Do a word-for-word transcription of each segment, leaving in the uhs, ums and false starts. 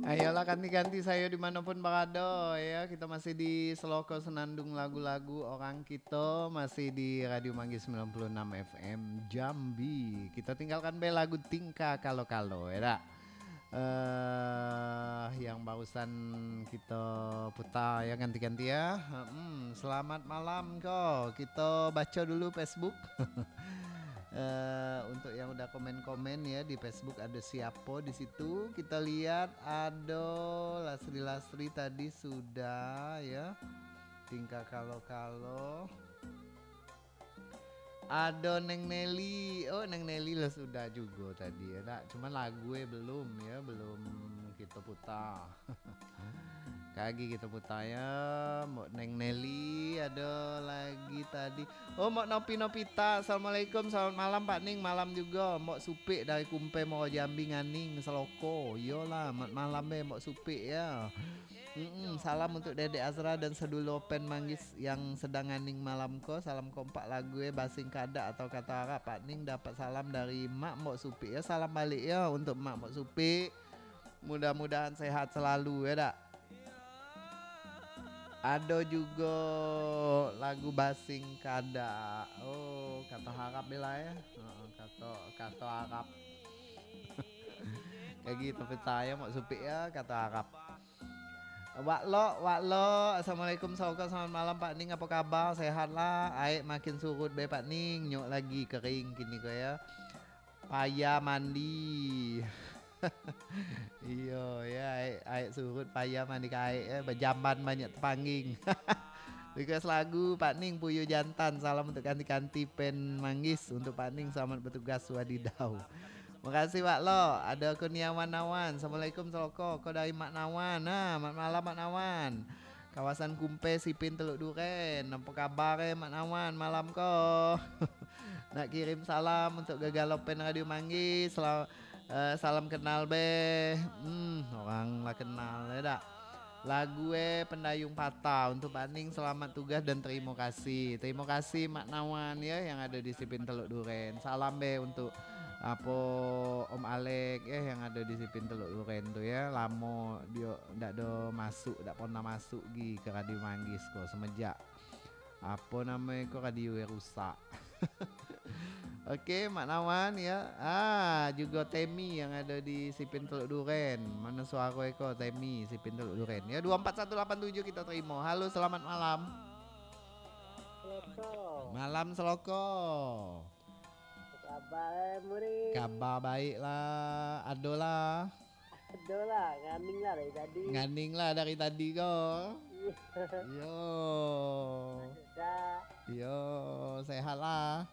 Ayolah, kanti-kanti sayo dimanopun barado, ya. Kito masih di Seloko Senandung Lagu-Lagu Orang Kito, masih di Radio Manggis sembilan puluh enam F M Jambi. Kito tinggalkan be lagu Tingkah Kalo-Kalo, ya dak? Eh, yang barusan kito puta, ya, kanti-kanti, ya. Hmm, selamat malam ko. Kito baco dulu Facebook. Eh, untuk yang udah komen-komen, ya, di Facebook, ada siapo di situ? Kita lihat, ado Lasri-Lasri tadi sudah, ya. Tingkah Kalo-Kalo. Ado Neng Nelly. Oh, Neng Nelly lah sudah jugo tadi, ya dak? Cuman lagu, eh, belum, ya, belum kito puta. Kagi kito puta, ya. Mok Neng Nelly, ado lagi tadi. Oh, Mok Nopi Nopita, assalamualaikum, selamat malam Pak Ning, malam jugo. Mok Supik dari Kumpe Muaro Jambi, Nganing, Seloko. Iyolah, mat malam be, Mok Supik, ya. Mm-mm, salam untuk Dedek Azra dan sadulur Pen Manggis yang sedang nganing malam ko. Salam kompak lagu, eh, Basing Kadak atau Kato Arab. Pak Ning dapat salam dari Mak Mok Supik, ya. Salam balik, ya, untuk Mak Mok Supik. Mudah-mudahan sehat selalu, ya dak? Ado jugo lagu Basing Kadak. Oh, Kato Arab bela, ya. Heeh, Kato, Kato Arab. Kagi tapi sayo Mok Supik, ya, Kato Arab. Wak Lok, Wak Lok. Assalamualaikum, Saukar. Selamat malam, Pak Ning. Apo kabar? Sehat lah? Aek makin surut be, Pak Ning. Nyok lagi kering kini ko, ya. Payah mandi. Iyo, ya, aek, aek surut, payah mandi ka aek, ya. Bajamban banyak tapanggang. Request lagu, Pak Ning, Puyuh Jantan. Salam untuk kanti-kanti Pen Manggis. Untuk Pak Ning, selamat bertugas, wadidau. Makasih, Wak Lok. Ado Kurniawan Nawan. Assalamualaikum, Seloko. Ko dari Mak Nawan. Nah, mat malam, Mak Nawan. Kawasan Kumpe, Sipin, Teluk Duren. Apo kabar, eh, Mak Nawan, malam ko? Nak kirim salam untuk Gagalo Pen Radio Manggis. Sela-, eh, salam kenal be. Hmm, orang lah kenal, ya dak? Lagu, eh, Pendayung Patah untuk Pak Ning, selamat tugas dan terima kasih. Terima kasih Mak Nawan, ya, yang ada di Sipin Teluk Duren. Salam be untuk apo Om Alek, ya, yang ada di Sipin Teluk Duren tu, ya. Lamo dio ndak do masuk, ndak pernah masuk gi ke Radio Manggis ko semenjak apo namo ko, radio e rusak. Oke, Mak Nawan, ya. Ah, jugo Temi yang ado di Sipin Teluk Duren. Mano suaro eko, Temi, Sipin Teluk Duren? Ya, dua empat satu lapan tujuh kita terima. Halo, selamat malam. Seloko. Malam, Seloko. Apo kabar, eh, Muri? Kabar baik lah. Ado lah. Ado lah, nganing lah dari tadi. Nganing lah dari tadi ko. Iyo. Iyo. Sudah. Iyo, sehat lah.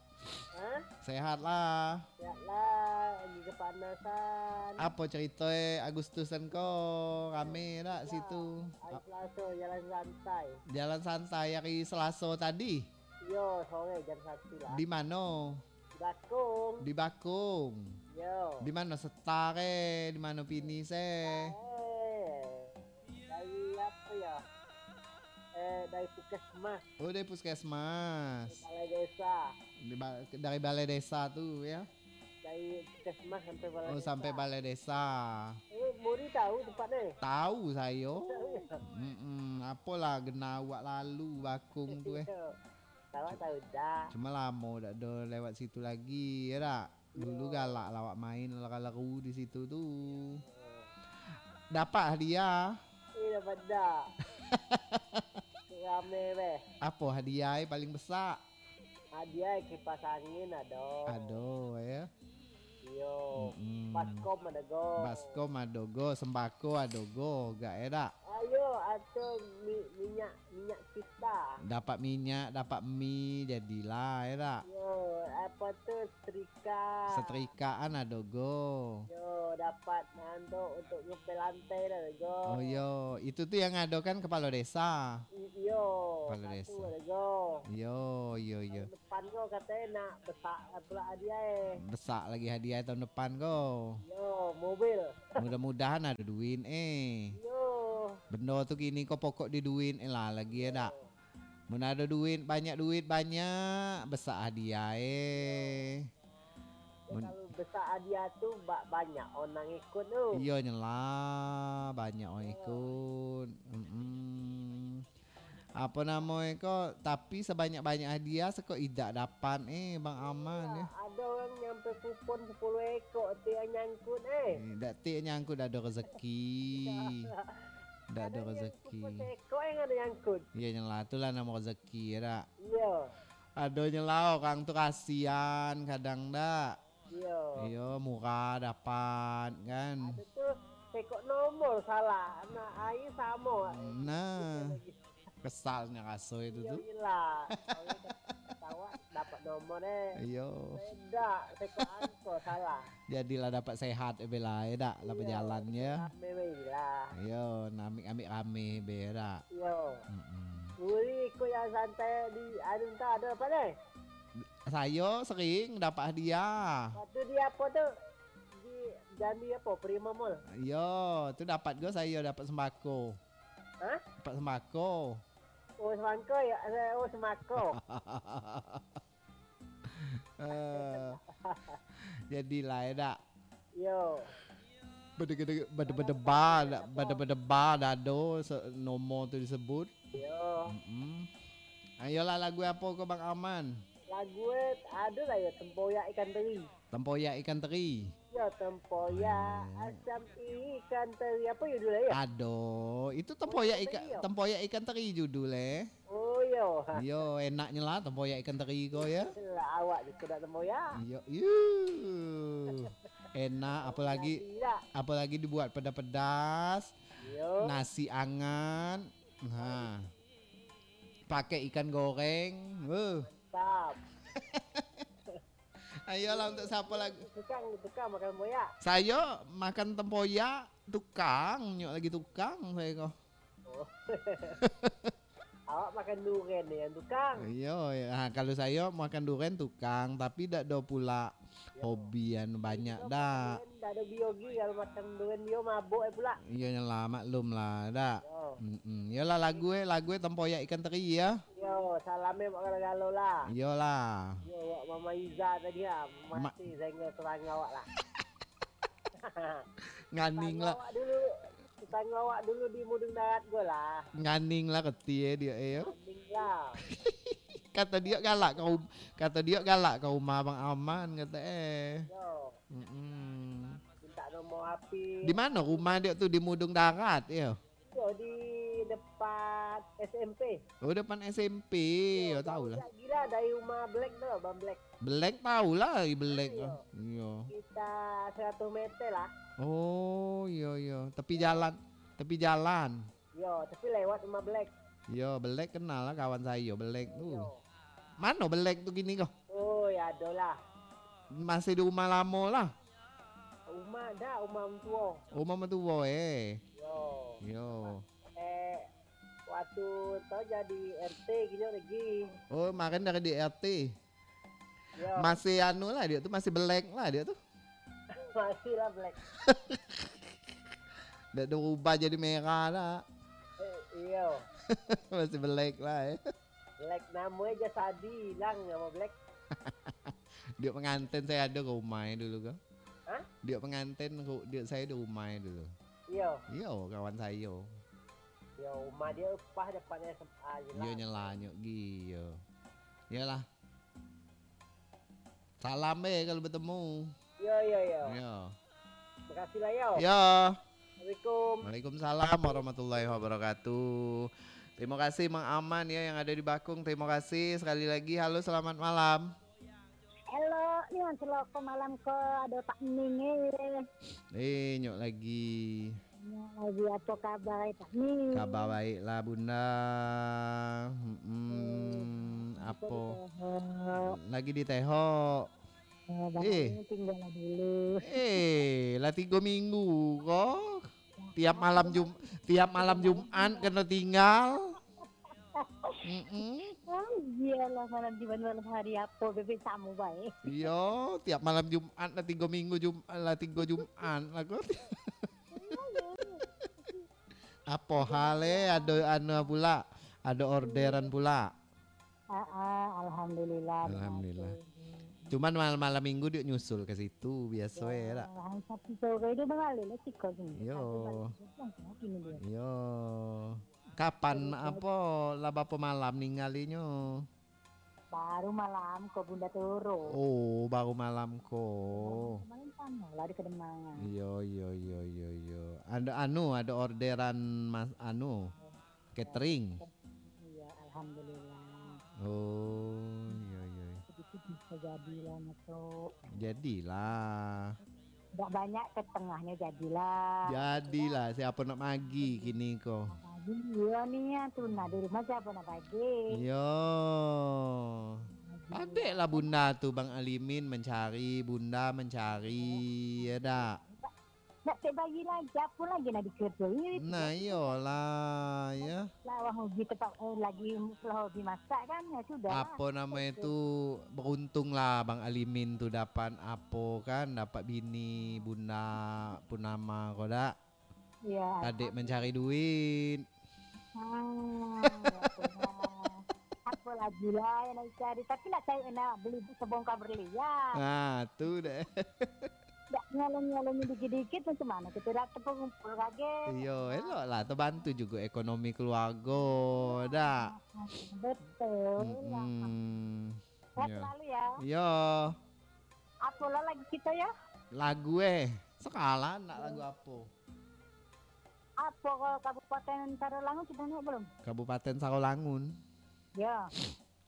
Hah? Sehat lah. Sehat lah, lagi kepanasan. Apo cerito, eh, Agustusan ko? Rame dak situ? Hari Selasa, jalan santai. Jalan santai hari Selasa tadi? Iyo, sore jam satu lah. Di mano? Di Bakung. Di Bakung. Yo. Di mano, Setar e? Di mano, Pinis e? Eh, dari apo yo? Eh, dari puskesmas. Oh, dari puskesmas. Dari balai desa. Di ba-, dari balai desa tu, yo? Dari puskesmas sampai balai desa. Oh, sampai balai desa. Eh, Muri tahu tempatnyo? Tahu sayo. Tahu, yo? Mm-mm. Apolah, genah awak lalu Bakung tu, eh. Iyo. Awak tahu dak? Cuma lamo dak do lewat situ lagi, yo dak? Dulu galak lah awak main lari-lari di situ tu. Dapat hadiah? Eh, dapat dak? Rame beh. Apo hadiah e paling besak? Hadiah kipas angin ado. Ado, yo. Iyo. Mm-mm. Baskom ado go. Baskom ado go, sembako ado go, gak e dak? Ayo, atau mi-, minyak, minyak kita. Dapat minyak, dapat mi, jadilah, yo dak? Yo, apo tu, setrika. Setrikaan ado go. Yo, dapat nando untuk ngepel lantai ado go. Oh, yo. Itu tu yang ado kan kepala desa? I-, iyo, kepala desa. Satu ado go. Yo, yo, yo. Depan ko katonyo nak besak pula hadiah e. Besak lagi hadiah tahun depan ko. Yo, mobil. Mudah-mudahan ado duit e. Yo. Bendo tu kini ko pokok di duit e lah lagi, yo dak? Mun ado duit, banyak duit, banyak, besak hadiah e. Yo, mun- kalau besak hadiah tu ba-, banyak orang ikut tu. Iyo nyelah, banyak orang ikut. Mm-mm. Apo namo iko? Tapi sabanyak-banyak hadiah, sako idak dapat, eh, Bang Aman, yo. Ado urang nyampe kupon sapuluah ekok, tu yang nyangkut, eh. Eh, dak tik nyangkut, dak ado rezeki. Dak ado rezeki. Kupon sekok yang ado nyangkut. Iyo, nyelah, tu lah namo rezeki, yo dak? Iyo. Ado nyelah, urang tu kasian kadang dak. Iyo. Iyo, murah dapat, kan. Ado tu sekok nomor salah, nah, aia samo. Nah. Kesalnyo raso itu tu. Iyo, iyolah. Kalau ketawa dapat nomor, eh. Iyo. Beda, sekok angko salah. Jadilah dapat sehat, eh, Bella, eh, dak? Lah bajalan, yo. Rame, weh, lah. Iyo, namik-amik rame, be, dak? Iyo. Mm-mm. Uli ikut yang santai di, anu, entah ado apo, deh? Sayo sering dapat hadiah. Waktu di apo tu? Di Jambi apo? Prima Mall? Iyo, tu dapat juo sayo, dapat sembako. Hah? Dapat sembako. Oh, semangko ya? Eh, oh, semako. Eh, jadilah, yo dak? Yo. Bade-, bade-, bade-, badeba, dak? Bade-, badeba, dak ado se-, nomor tu disebut. Yo. Mm-mm. Ayolah, lagu apo ko, Bang Aman? Lagu, eh, ado lah yo, Tempoyak Ikan Teri. Tempoyak Ikan Teri. Yo, Tempoyak Asam Ikan Teri. Apo judulnyo, yo? Ado, itu Tempoyak Ikan Teri, yo? Tempoyak Ikan Teri judul, eh. Oh, yo. Yo, enaknyo lah Tempoyak Ikan Teri ko, yo. Lah, awak juo dak tempoyak. Yo, yo. Enak, apolagi, apolagi dibuat pedas-pedas. Yo. Nasi angat. Ha. Pakai ikan goreng. Wuh. Mantap. Ayolah, untuk siapo lagu? Tukang, tukang makan tempoyak. Sayo makan tempoyak, tukang, nyok lagi tukang sayo ko. Oh. Awak makan duren ni yang tukang. Iyo, iyo. Ha, kalau sayo makan duren tukang, tapi dak do pula hobi anu banyak dak. Dak ado biogi kalau makan duren, dio mabok, eh, pula. Iyo, nyelah, maklum lah dak. Yo. Mm-mm. Iyolah, lagu, eh, lagu, eh, Tempoyak Ikan Teri, yo. Yo, salam, eh, buat galo-galo lah. Iyolah. Yo, buat Mama Iza tadi lah. Ma- Masih sengga serang awak lah. Nganing lah. Awak dulu, tetangga awak dulu di Mudun Darat ko lah. Nganing lah keti, eh, dio, eh, yo. Nganing lah. Kato dio galak ka rum-, kato dio galak ka rumah Abang Aman, kato, eh. Yo. Mm-mm. Minta nomor H P. Di mano rumah dio tu? Di Mudun Darat, yo? Yo, di depan S M P. Oh, depan S M P. Yo, yo, tahu lah. Gila dari rumah Black tu, Bang Black. Black tahu lah, i Black. Iyo. Iyo. Sekitar seratus meter lah. Oh, iyo, iyo. Tepi jalan, tepi jalan. Yo, tapi lewat rumah Black. Yo, Black kenal lah kawan sayo, Black tu. Yo. Mano Black tu kini ko? Oh, yo, ado lah. Masih di rumah lamo lah? Rumah dak, rumah mentua. Rumah mentua, eh. Yo. Yo. Eh, waktu tu jadi R T kini lagi. Oh, kemarin dari di R T. Yo. Masih anu lah dio tu, masih Black lah dio tu. Masih lah Black. Dak ado berubah jadi merah dak. Eh, iyo. Masih Black lah, eh. Black, namo e Jasadi, ilang namo Black. Dio penganten sayo ado ka rumah e dulu ko. Hah? Dio penganten ko, dio sayo di rumah e dulu. Iyo. Iyo, kawan sayo. Yo, rumah dio pas depan S M A je lah. Iyo, nyelah nyok gi, iyo. Iyolah. Salam be kalau betemu. Yo, yo, yo. Yo. Makasih lah, yo. Yo. Assalamualaikum. Waalaikumsalam warahmatullahi wabarakatuh. Terima kasih Mang Aman ya yang ada di Bakung. Terima kasih sekali lagi. Halo, selamat malam. Halo, ni yang celoko malam ko ado Pak Ning eh. Eh, nyok lagi. Nyok lagi, apo kabar eh, Pak Ning? Kabar baik lah, Bunda. Hmm, apo? Lagi di Teho. Oh, Bang, eh, tinggal lah dulu. Eh, lah tigo minggu ko. Tiap malam Jum-, tiap malam Jumat kena tinggal. Mm-mm. Ah, iyolah, malam Jumat, malam hari apo, bebek samo bae. Iyo, tiap malam Jumat lah tigo minggu Jum-, lah tigo Jumat lah ko. Apo hal eh, ado anu pula, ado orderan pula. Ah, ah, alhamdulillah. Alhamdulillah. Berhasil. Cuman malam-malam minggu dia nyusul ke situ, biaso eh, dak? Hari Sabtu sore dia balik lah siko sini. Yo. Sabtu balik, dia pulang ke sini dia. Yo. Kapan apo, lah bapo malam ninggalinyo? Baru malam ko Bunda turun. Oh, baru malam ko. Malam, malam sana lah di Kedemangan. Iyo, iyo, iyo, iyo, iyo. Ada anu, ada orderan mas anu, catering. Iya, alhamdulillah. Oh, iyo, iyo. Sedikit bisa jadilah masuk. Jadilah. Ndak banyak, setengahnya jadilah. Jadilah, siapo nak magi kini ko? Magi, iyo ni, ya, tu nah, di rumah siapo nak bagi? Iyo. Padek lah bunda tu, Bang Alimin mancari, bunda mancari, ya dak? Ndak, ndak tek bayi lagi, apo lagi nak dikerjoi? Nah, iyolah, ya. Lah, wah, hobi tempat, eh, lagi, lah, hobi masak kan, ya sudah lah. Apo namo itu, beruntung lah Bang Alimin tu dapat apo kan, dapat bini, bunda, Purnama ko dak? Iya. Padek mancari duit. Ah, ya, apo lah. Apo lagi lah yang nak cari, tapi nak cari, nak beli sebongkar berlian. Ah, tu deh. Ndak nyalon-nyalon dikit-dikit, macam mana kita dak terkumpul lagi. Iyo, elok lah, terbantu juga ekonomi keluarga, dak? Betul lah. Mm-mm. Sehat selalu ya. Iyo. Apo lah lagu kita ya? Lagu eh, sekarang nak lagu apo? Apo kalau Kabupaten Sarolangun sudah naik belum? Kabupaten Sarolangun. Ya.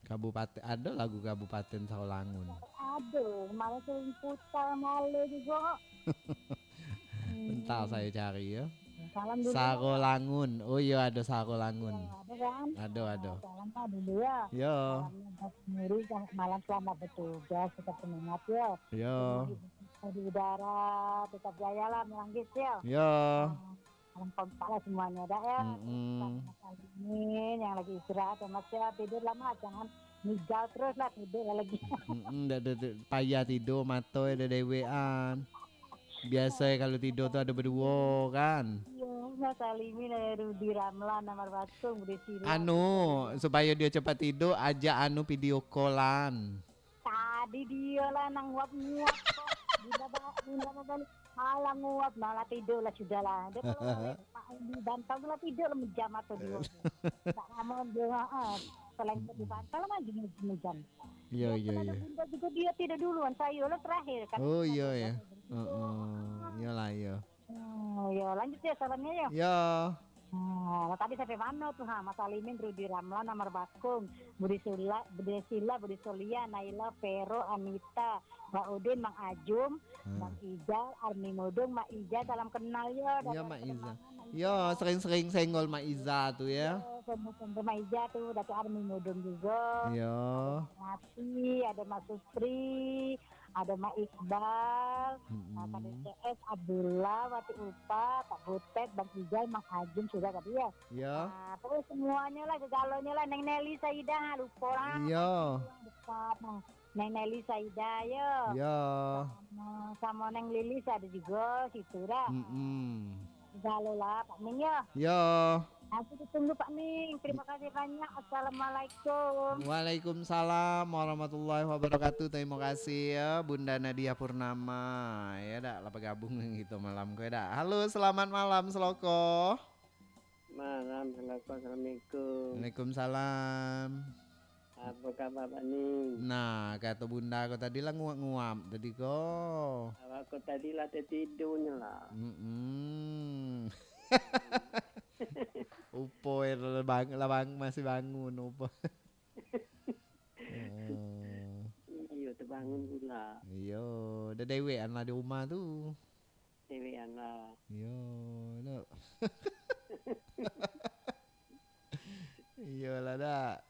Kabupaten, ada lagu Kabupaten Sarolangun. Aduh, malah sering putar malu juga. Bentar saya cari ya. Salam dulu. Sarolangun. Oh iya, ada Sarolangun. Ya, ada kan? Ada, ada. Salam lah dulu ya. Ya. Salamnya buat sendiri, malam selamat bertugas, tetap semangat ya. Ya. Di udara, tetap jaya lah, Melanggis ya. Ya. Salam kompak lah semuanya dah ya. Mm-mm. Terutama Mas Alimin yang lagi istirahat ya, Mas ya. Tidur lah, Mas, jangan migal terus lah, tidur lah lagi. Mm-mm, dah, dah, dah, payah tidur, mato dah dewekan. Biaso kalau tidur tu ada berdua kan. Iya, Mas Alimin, ada Rudi Ramlan, Amar Bakung, Budi Sila. Anu, supaya dia cepat tidur, ajak anu video callan. Tadi dia lah nang nguap-nguap kok. Bila ba-, bila babalik, malah nguap, malah tidur lah sudah lah. Dia kalau balik, Pak, di Bantau tu lah tidur lah, mejam mato dia. Tak lama dia, ha, selain di Bantau lah maju mejam. Iya, iya, iya. Bunda juga dia tidur duluan, saya lah terakhir kan. Oh, iya, ya. Heeh. Iyalah, iya. Hmm, yo, lanjut ya salamnya ya. Ya. Nah, tadi sampai mana tuh, ha? Mas Alimin, Rudi Ramlan, Amar Bakung, Budi Sula, Budi Sila, Budi Solia, Naila, Pero, Anita, Mak Udin, Mang Ajum, Bang Ijal, Armi Mudung, Mak Ijal, salam kenal ya. Iya, Mak Iza. Iya, sering-sering senggol Mak Iza tu ya. Iya, senggol-senggol Mak Iza tu, Datuk Armi Mudung juga. Iya. Ada Mak Nasi, ada Mak Supri, ada Mak Iqbal, nah, K D C S, Abdullah, Wati Upa, Pak Butet, Bang Ijal, Mang Ajun sudah tadi ya. Iya. Nah, terus semuanya lah, segalonya lah, Neng Nelly Saidah, lupa lah. Iya. Yang dekat, nah. Neng Nelly Saidah, ya. Iya. Sama, sama Neng Lilis ada juga situ dah. Mm-mm. Segalo lah, Pak Ming, ya. Iya. Aku ditunggu, Pak Ming. Terima kasih banyak. Assalamualaikum. Waalaikumsalam warahmatullahi wabarakatuh. Terima kasih ya, Bunda Nadia Purnama. Ya dak, lah bergabung dengan kita malam ko ya dak. Halo, selamat malam, Seloko. Malam, Seloko. Assalamualaikum. Waalaikumsalam. Apa khabar, Pak Ning? Nah, kato Bunda ko tadi lah nguap-nguap tadi ko. Awak ko tadi lah tertidurnyo lah. Mm-mm. Upo eh, lah bang, lah bang, masih bangun, upo. Heeh. Iyo, terbangun pula. Iyo, dah dewekan lah di rumah tu. Dewekan lah. Iyo, tu. Iyolah, dak.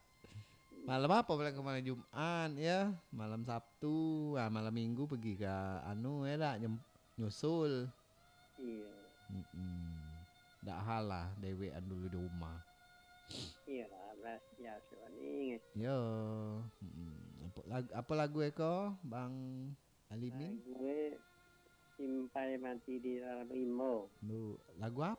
Malam apo pulang ko, malam Jumat, ya? Malam Sabtu, ah, malam Minggu pergi ka anu, ya dak? Nyem-, nyusul. Iyo. Mm-mm. Dak hal lah, dewekan dulu di rumah. Iyo lah, biaso ni. Yo. Mm-mm. Apo lag-, apo lagu eko, Bang Alimin? Lagu e Simpai Mati di Dalam Rimbo. Lu, lagu